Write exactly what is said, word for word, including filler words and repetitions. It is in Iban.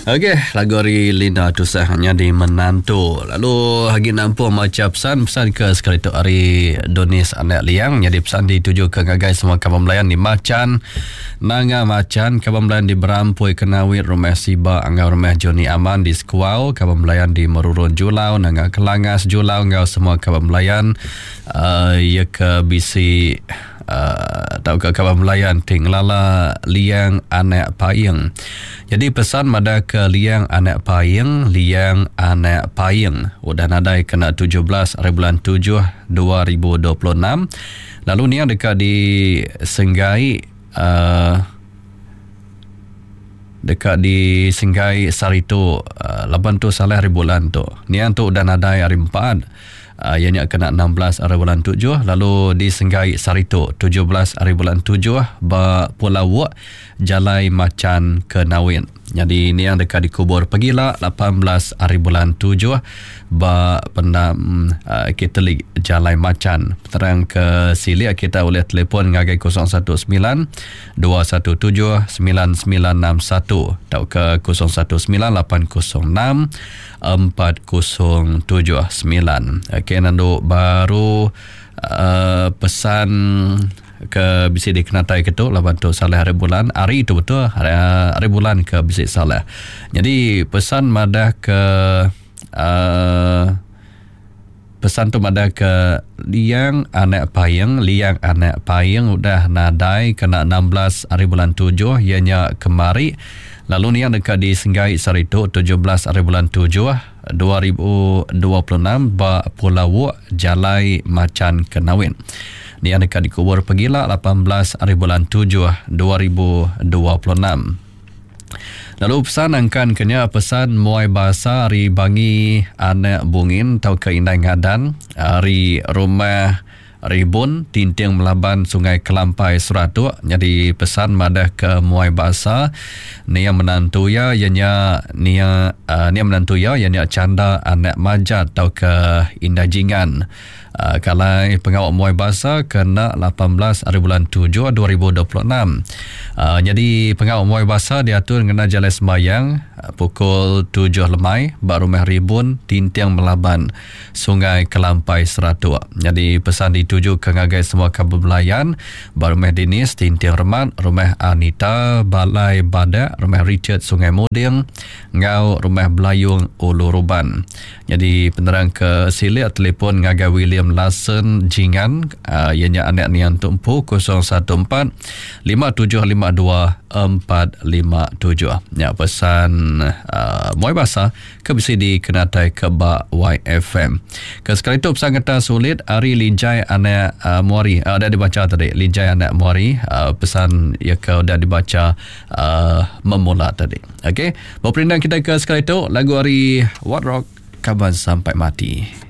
Okey, lagu ari Linda Tusah nyadi menantu. Lalu agi nampung macha pesan, pesan ke sekali tu ari Donis Anak Liang nyadi pesan dituju ke ngagai semua kaban belayan di Machan, Nanga Machan, kaban belayan di Berampui Kenawit, Rumah Siba enggau Rumah Johnny Aman di Sekuau, kaban belayan di Merurun Julau, Nanga Kelangas Julau enggau semua kaban belayan uh, iya ke bisi Uh, tauka kaban belayan ti ngelala Liang Anak Paing. Jadi pesan madah ke Liang Anak Paing, Liang Anak Paing udah nadai kena tujuh belas hari bulan tujuh dua ribu dua puluh enam. Lalu niang deka disenggai uh, deka disenggai sehari tu uh, laban tu salah hari bulan tu. Niang tu udah nadai hari empat. Uh, ia nya kena enam belas hari bulan tujuh lalu disenggai sehari tu tujuh belas hari bulan tujuh ba Pulau Wok, Jalai Machan Kenawit. Jadi niang deka dikubur pagila lapan belas hari bulan tujuh ba pendam uh, Katolik Jalai Machan. Terang ke silik kita boleh telefon ngagai kosong satu sembilan dua satu tujuh sembilan sembilan enam satu tauka kosong satu sembilan lapan kosong enam empat kosong tujuh sembilan. Okey, nandu baru uh, pesan ke bisi dikenatai ke tu laban tu salah hari bulan hari tu betul hari, hari bulan ke bisi salah. Jadi pesan madah ke uh, pesan tu madah ke Liang Anak Paing, Liang Anak Paing udah nadai kena enam belas hari bulan tujuh ianya kemari. Lalu niang deka disenggai sehari tu tujuh belas hari bulan tujuh dua ribu dua puluh enam ba Pulau Wok, Jalai Machan Kenawit. Niang deka dikubur pagila lapan belas hari bulan tujuh dua ribu dua puluh enam. Lalu pesan angkan kenya pesan muai bahasa ari Bangi Anak Bungin tauka Indai Ngadan ari Rumah Ribun Tinting Melaban Sungai Kelampai Seratuk. Jadi pesan madah ke muai bahasa nia menantu ya ianya nia uh, nia menantu ya ianya Canda Anak Majat tauka Indai Jingan. Uh, kalai pengawak muai bahasa kena lapan belas hari bulan tujuh dua ribu dua puluh enam. Uh, jadi pengawak muai bahasa diatur ngena jalai sembayang uh, pukul tujuh lemai ba Rumah Ribun Tinting Melaban Sungai Kelampai Seratuk. Jadi pesan dituju ke ngagai semua kaban belayan ba Rumah Dinis Tinting Remat, Rumah Anita Balai Badak, Rumah Richard Sungai Muding ngau Rumah Belayung Ulu Ruban. Jadi penerang ke silik telefon ngagai William Larsen Jingan uh, ianya anak nian tumpu kosong satu empat lima tujuh lima dua empat lima tujuh. Ya pesan uh, muai bahasa ke bisi dikenatai ke ba Y F M. Ke sekali tu pesan kata sulit ari Lijai anak uh, Muari uh, dah dibaca tadi Lijai anak Muari uh, pesan ya ke dah dibaca uh, memula tadi. Okey, berperindang kita ke sekali tu lagu ari What Rock Kaban Sampai Mati.